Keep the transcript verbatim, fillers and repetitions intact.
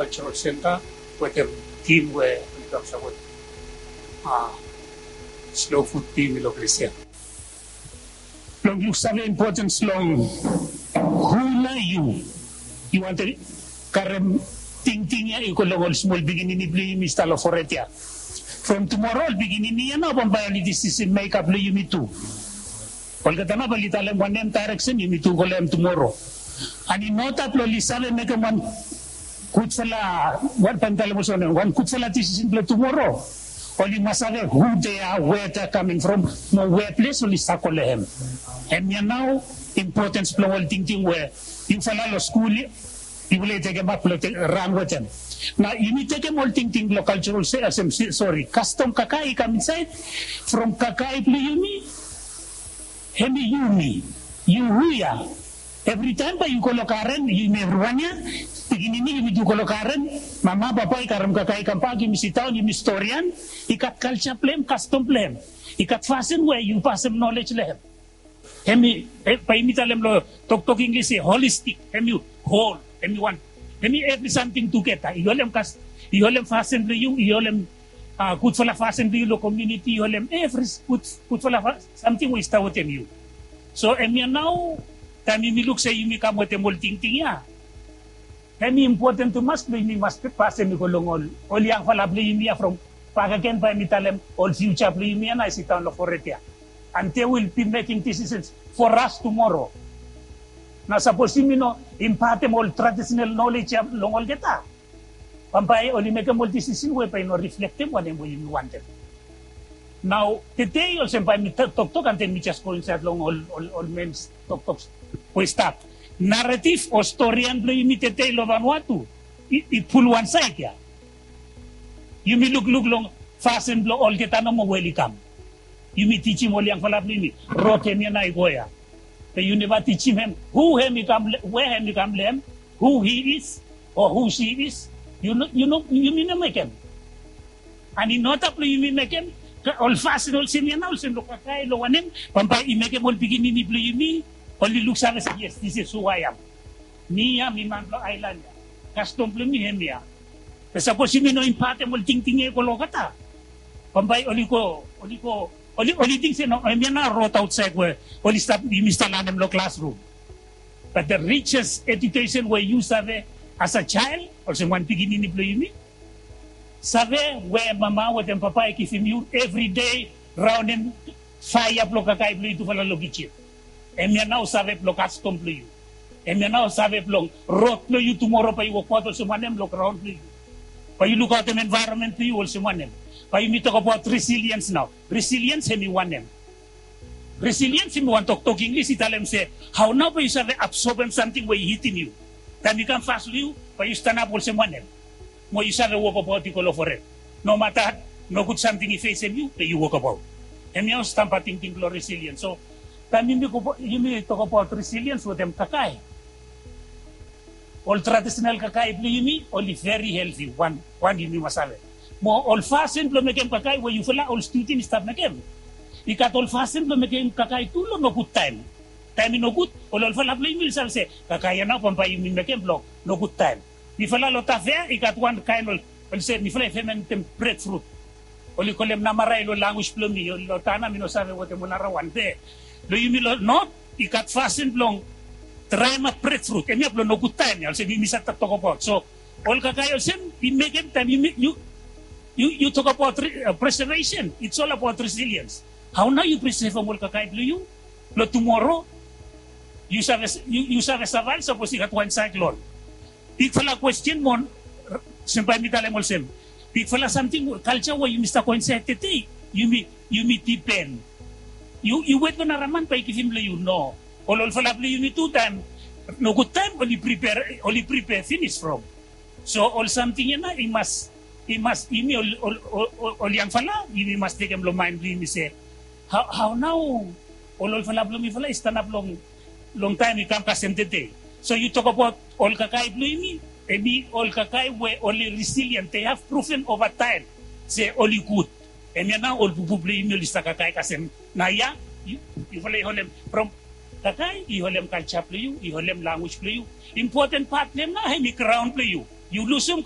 Cultural Center wetem tim we oli kam sapot, a, Slow Food tim i long ples ya. Blong luksave impotens blong hu nao yu, yu wantem karem tingting ya i go long ol smol pikinini blong yumi i stap long fored ya. From tumoro ol pikinini ya nao bambae oli disisen mekap long yumi tu. Olgeta nao bae oli talem wanem daereksen yumi tu go long hem tumoro. Ani nota blong oli save mekem wan gudfala, wan bae mi talem olsem wanem, wan gudfala disisen blong tumoro, oli mas save hu dea, wea dea kaming from, mo wea ples oli stap go long hem. Hemia nao impotens blong ol tingting we yufala long skul yufala i tekemap blong ran wetem. Nao yumi tekem ol tingting blong kaljoral se, sori, kastom kakae i kam insaed from kakae blong yumi. Hemi yumi, yu hu ya. Evritaem bae yu go long garen, yumi evriwan ya, pikinini yumi tu go long garen, mama papa i karem kakae i kambak, yumi sidaon, yumi storian. I gat kalja blong hem, kastom blong hem. I gat fasin we yu pasem nolej long hem. Hemi, bae yumi talem long toktok Inglis se holistik, hemi hol, hemi wan, hemi evri samting tugeta. I holem kas, i holem fasin blong yu, i holem, a, gudfala fasin blong yu long komuniti, i holem evri gud, gudfala samting we i stap wetem yu. So hemia nao taem yumi luk se yumi kam wetem ol tingting ya, hemi impoten tumas blong yumi mas pasem i go long ol, ol yangfala blong yumi ya from bakegen bae mi talem ol fiuja blong yumi ya nao i sidaon long fored ya. And they will be making decisions for us tomorrow. Nao sapos yumi no impatem ol tradisonal nolej ya long olgeta, bambae oli mekem ol disisen we bae i no riflektem wanem we yumi wantem. Nao tede olsem bae mi toktok and then mi jes go insaed long ol, ol, ol men toktok we i stap. Naretif o storian blong yumi tede long Vanuatu i, i pul wan saed ya. Yumi lukluk long fasin blong olgeta nomo we oli kam. Yumi tijim ol yangfala blong yumi rod hemia nao i go ya. Be yu neva tijim hem hu hem i kam, we hem i kam long hem, who he is or who she is. Yu no, yu no, yumi no mekem. Ani nota blong yumi mekem ol fasin olsem ya nao, olsem long kakae, long wanem, bambae i mekem ol pikinini blong yumi oli luksave se, yes, this is who I am. Mi ya mi man blong aelan ya. Kastom blong mi hemia. Be sapos yumi no impatem ol tingting ya i go long olgeta, bambae oli go, oli go, oli, oli ting se no, hemia nao rod aotsaed we oli stap, yumi stap lanem long klasrum. But the richest education we yu save as a child, olsem wan pikinini blong yumi, save we mama wetem papa i givim yu evri dei, raonem faea blong kakae blong yu tufala long kijin. Hemia nao save blong kastom blong yu. Hemia nao save blong rod blong yu tumoro bae yu wokbaot olsem wanem long graon blong yu. Bae yu lukaotem envaeronmen blong yu olsem wanem. Bae yumi tokbaot resiliens nao. Resiliens hemi wanem? Resiliens hemi wan toktok Inglis i talem se hao nao bae yu save absobem samting we i hitim yu. Taem i kam fas long yu, bae yu stanap olsem wanem? Mo yu save wokbaot i go long fored. Nomata nogud samting i fesem yu, be yu wokbaot. Hemia stamba tingting blong resiliens. So taem yumi go, yumi tokbaot resiliens wetem kakae, ol tradisonal kakae blong yumi oli veri helti, wan, wan yumi mas save. Mo ol fasin blong mekem kakae we yufala ol studen i stap mekem, i gat ol fasin blong mekem kakae tu long nogud taem. Taem i nogud, ol olfala blong yumi oli save se kakae ya nao bambae yumi mekem blong nogud taem. Mifala long Tafea i gat wan kaen ol, oli se mifala i fementem bredfrut. Oli kolem namarai long lanwis blong mi, long Tana mi no save wetem ol narawan be long yumi long not i gat fasin blong draemap bredfrut, hemia blong nogud taem ya, olsem yumi save tokbaot. So ol kakae olsem i mekem taem yu, yu, yu tokbaot preservation, it's all about resiliens. Hao nao yu presevem ol kakae blong yu blong tumoro yu save, yu save savaev sapos i gat wan saeklon. Bigfala kwesten mo olsem bae mi talem olsem, bigfala samting, kalja we yumi stap go insaed tede, yumi, yumi dipen. Yu, yu wet long nara man bae i givim long yu, no. Ol olfala blong yumi tu taem nogud taem oli pripea, oli pripea finis from. So ol samting ya nao i mas, i mas, yumi ol, ol, ol, ol yangfala yumi mas tekem long maen blong yumi se hao, hao nao ol olfala blong mifala i stanap long, long taem i kam kasem tede. So yu tokbaot ol kakae blong yumi, hemi ol kakae we oli resilien, they have proven over time se oli gud. Hemia nao ol pupu blong yumi oli stap kakae kasem naoia. Yufala i holem from kakae, i holem kalja blong yu, i holem lanwis blong yu. Impoten pat blong hem nao hemi graon blong yu. Yu lusum